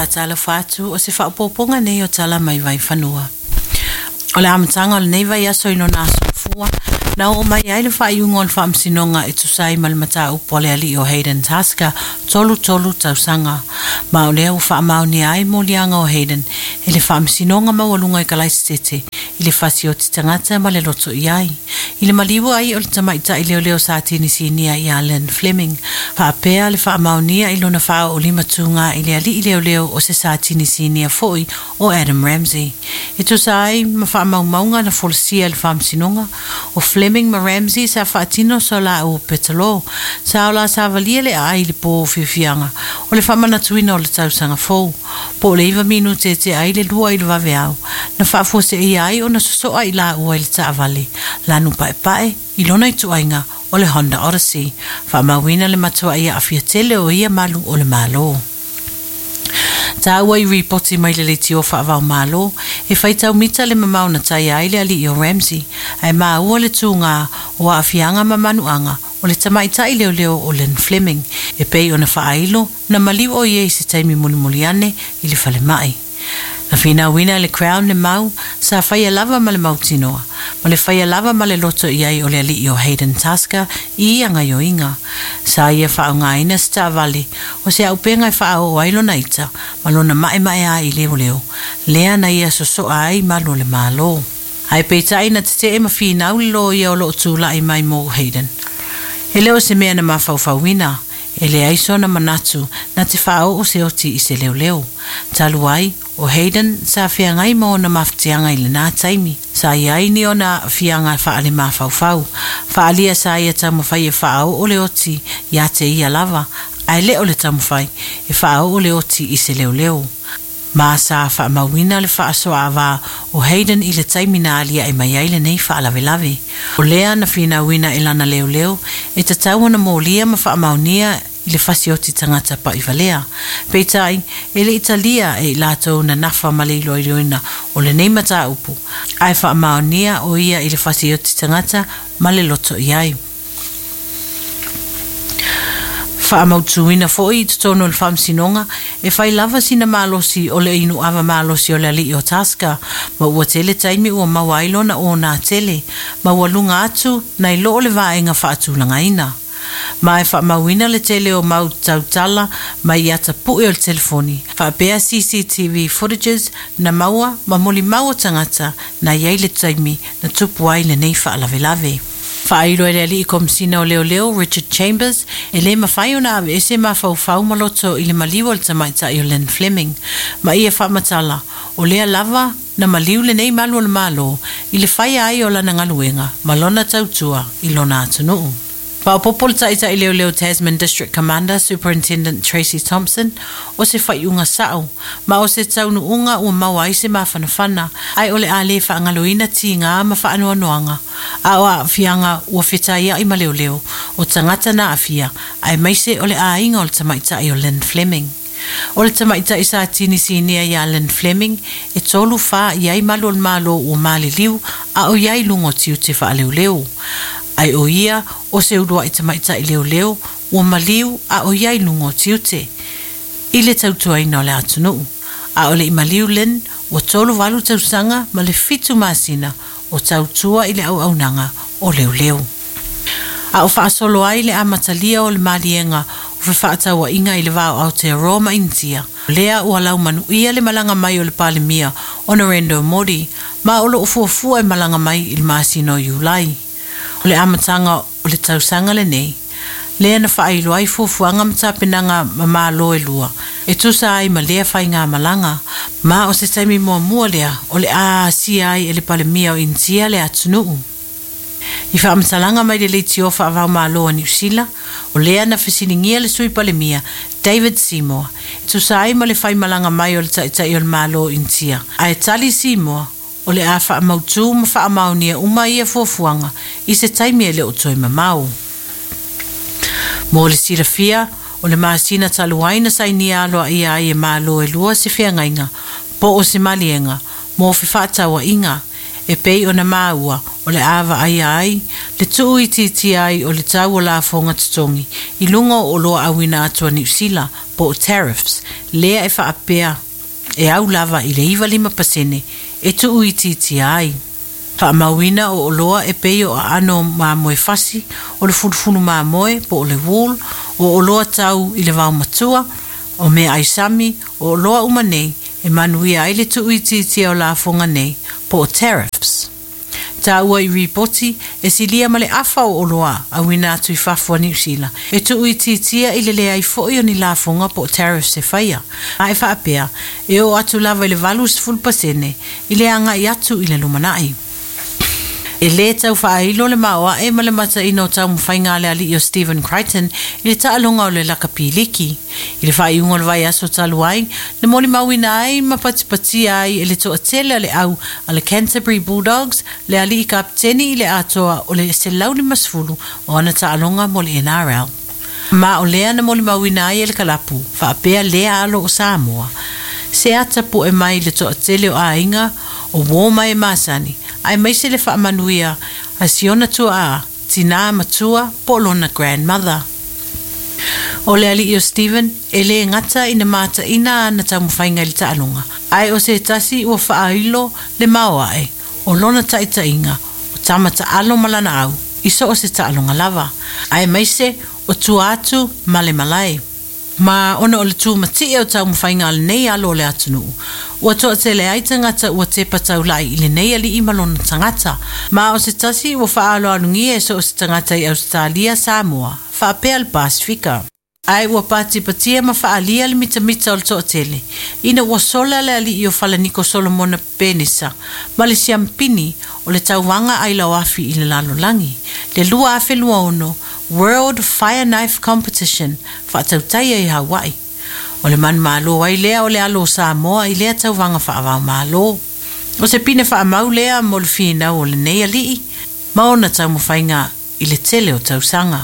faatalofa atu o se faaopoopoga nei o tala mai Vaifanua. O le amataga o lenei vaiaso i lona aso fua, na oo mai ai le faaiuga o le faamasinoga e tusa ai ma le mataupu a le alii o Hayden Tasker 33 tausaga. Ma o lea ua faamaonia ai moliaga o Hayden e le faamasinoga maualuga i Kalaisitete i le fasioti tagata ma le loto i ai. I le maliu ai o le tamaitai leoleo sa tinisinia ia Lynn Fleming, faapea le faamaonia i lona faaoolima tuga i le alii leoleo o se sa tinisinia foi o Adam Ramsey. E tusa ai ma faamaumauga na folasia i le faamasinoga, o Fleming ma Ramsey sa faatino sa laua petalo, sa o la savalia le aai i le po o fiafiaga o le faamanatuina o le tausaga fou, po o le 9 minute e tea ai le 2 i le vaveao, na faafuaseia ai ona sosoa i laua i le taavale, lanu paepae i lona ituaiga o le Honda Odyssey, faamauina le matuai aafia tele o ia malu o le Malo. Taua i ripoti mai le leitio faava-o-Malo, e faitau mita le mamao na taia ai le alii o Ramsey, ae maua le tuga o aafiaga ma manuaga o le tamaitai leoleo o Lynn Fleming, e pei ona faailo na maliu o ia i se taimi mulimuli ane i le falemai. Na finauina e le Crown le mau sa faia lava ma le mautinoa, ma le faia lava ma le loto i ai o le alii o Hayden Tasker i ia gaioiga. Sa ia faaaogaina se taavale o se auupega e faaoo ai lona ita ma lona maemaea i leoleo, lea na ia sosoa ai malu o le Malo. Ae peitai na tetee ma finau le loia o loo tulai mai mo Hayden. E le o se mea na mafaufauina, e leai sona manatu na te faaoo se oti i se leoleo. Talu ai, o Hayden sa feagai ma ona mafatiaga i lena taimi. Sa i ai ni ona aafiaga faalemafaufau. Faaalia sa ia taumafai e faaoo le oti ia te ia lava, ae le o le taumafai e faaoo le oti i se leoleo. Ma sa faamauina le faasoaava o Hayden i le taimi na aliae mai ai lenei faalavelave. O lea na finauina e lana leoleo e tatau ona molia ma faamaonia i le fasioti tagata paivalea. Peitai, e le i talia e i latou na nafa ma le iloiloina o lenei mataupu, ae faamaonia o ia i le fasioti tagata ma le loto i ai. Faamautuina foi i totonu o le faamasinoga e fai lava sina malosi o le inu ava malosi o le alii o Tasker, ma ua tele taimi ua maua ai lona ona tele, ma ua luga atu nai lo o le vaega faatulagaina. Ma e faamauina le tele o mau tautala mai ata pue o le telefoni, faapea CCTV footages na maua ma molimau o tagata na i ai le taimi na tupu ai lenei faalavelave. Faailo e le alii komisina o leoleo Richard Chambers e le mafai ona aveese mafaufau ma loto i le maliu o le tamaitai o Lynn Fleming. Ma ia faamatala, o lea lava na maliu lenei malu o le Malo i le faia ai o lana galuega ma lona tautua i lona atunuu. Faaopoopo le taitai leoleo Tasman District Commander Superintendent Tracy Thompson o se faaiuga sao ma o se taunuuga ua maua ai se mafanafana, ae o le a le faagaloina tiga ma faanoanoaga a o aafiaga ua fetaiai ma leoleo o tagata na aafia, aemaise o le aiga o le tamaitai o Lynn Fleming. O le tamaitai sa tinisinia ia Lynn Fleming e 34 i ai malu o le Malo ua maliliu a o i ai luga o tiute faaleoleo. Ae o ia o se uluai tamaitai leoleo ua maliu a o i ai luga o tiute i le tautuaina o le atunuu. A o le i maliu Lynn ua 38 tausaga ma le 7 masina o tautua i le auaunaga o leoleo. A o faasolo ai le amatalia o le maliega o fefaatauaiga i le va o Aotearoa ma Initia, lea ua laumanuia le malaga mai o le Palemia o Narendra Modi, ma o loo fuafua e malaga mai i le masina o Iulai. O le amataga o le tausaga lenei, lea na faailo ai fuafuaga ma tapenaga ma Malo e lua, e tusa ai ma lea faigamalaga, ma o se taimi muamua lea o le a asia ai e le Palemia o Initia le atunuu. I faamatalaga mai le leitio faava-o-Malo a Niu Sila, o lea na fesiligia le sui Palemia David Seymour, e tusa ai ma le faimalaga mai o le taitai o le Malo o Initia. Ae tali Seymour, o le a faamautū ma faamaonia uma ia fuafuaga i se taimi e le o toe mamao. Mo le silafia, o le masina talu ai na sainia aloaia ai e Malo e lua se feagaiga po o se maliega mo fefaatauaiga e pei ona maua o le a vaaia ai le tuuitiitia ai o le tau o lafoga totogi i luga o oloa auina atu a Niu Sila po o tariffs lea e faapea e au lava i le 95% e tuuitiitia ai. Faamauina o oloa e pei o aano o mamoe fasi, o le fulufulu mamoe po o le wool, o oloa tau i le vaomatua, o meaai sami, o oloa uma nei e manuia ai le tuuitiitia o lafoga nei po o tariffs. Taua i ripoti e silia ma le afa o oloa auina atu i fafo a Niu Sila e tuuitiitia i le leai foi o ni lafoga po o tariffs e faia, a e faapea e oo atu lava i le 80% i le agai atu i le lumanai. E lē tau faailo le maoae ma le mataina o taumafaiga a le alii o Stephen Crichton i le taaloga o le lakapi liki. I le faaiuga o le vaiaso talu ai, na molimauina ai ma patipatia ai e le toatele o le au a le Canterbury Bulldogs le alii kapeteni i le atoa o le 150 o ana taaloga mo le NRL. Ma o lea na molimauina ai e le kalapu faapea lea alo o Samoa se ata po'e mai i le toatele o aiga o uō ma e masani, aemaise le faamanuia a si ona tuaa, tinā matua po o lona grandmother. O le alii o Stephen e lē gata ina mataina ana taumafaiga i le taaloga, ae o se tasi ua faailo le maoae o lona taitaiga o tama taalo ma lana au i so o se taaloga lava, aemaise o tua atu ma le malae. Ma ona o le tumatie o taumafaiga a lenei alo o le atunuu, ua toatele ai tagata ua tepa taulai i lenei alii ma lona tagata, ma o se tasi ua faaaloalogia e so o se tagata i Ausetalia, Samoa faapea le Pasifika. Ae ua patipatia ma faaalia le mitamita o le toatele ina ua sola le alii o Falaniko Solomona Penisa ma le siampini o le tauvaga ailaoafi i le lalolagi, le 2026 World Fire Knife Competition faatautaia i Hawaii. O le manumalo ai lea o le alo o Samoa i lea tauvaga faava-o-Malo. O se pine faamau lea mo le finau o lenei alii ma ona taumafaiga i le tele o tausaga.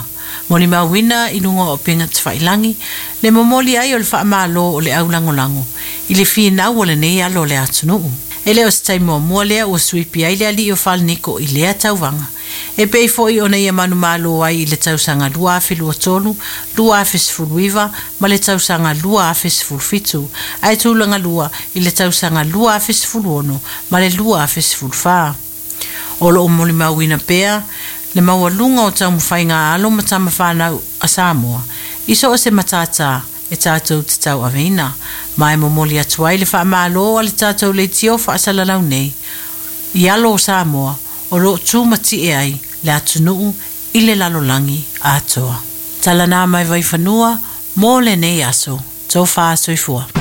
Molimauina i luga o upega tafailagi le momoli ai o le faamalo o le au lagolago i le finau o lenei alo o le atunuu. E le o se taimi muamua lea ua suipi ai le alii o Falaniko i lea tauvaga, e pei foi ona ia manumalo ai i le tausaga 2023, 2019 ma le tausaga 2017, ae tulaga lua i le tausaga 2016 ma le 2014. O loo molimauina pea le maualuga o taumafaiga a alo ma tama fanau a Samoa i so o se matātā e tatou te tauaveina, ma e momoli atu ai le faamalo a le tatou leitio faasalalau nei i alo o Samoa o loo tumatie ai le atunuu i le lalolagi atoa. Tala na mai Vaifanua mo lenei aso. Tofa soifua.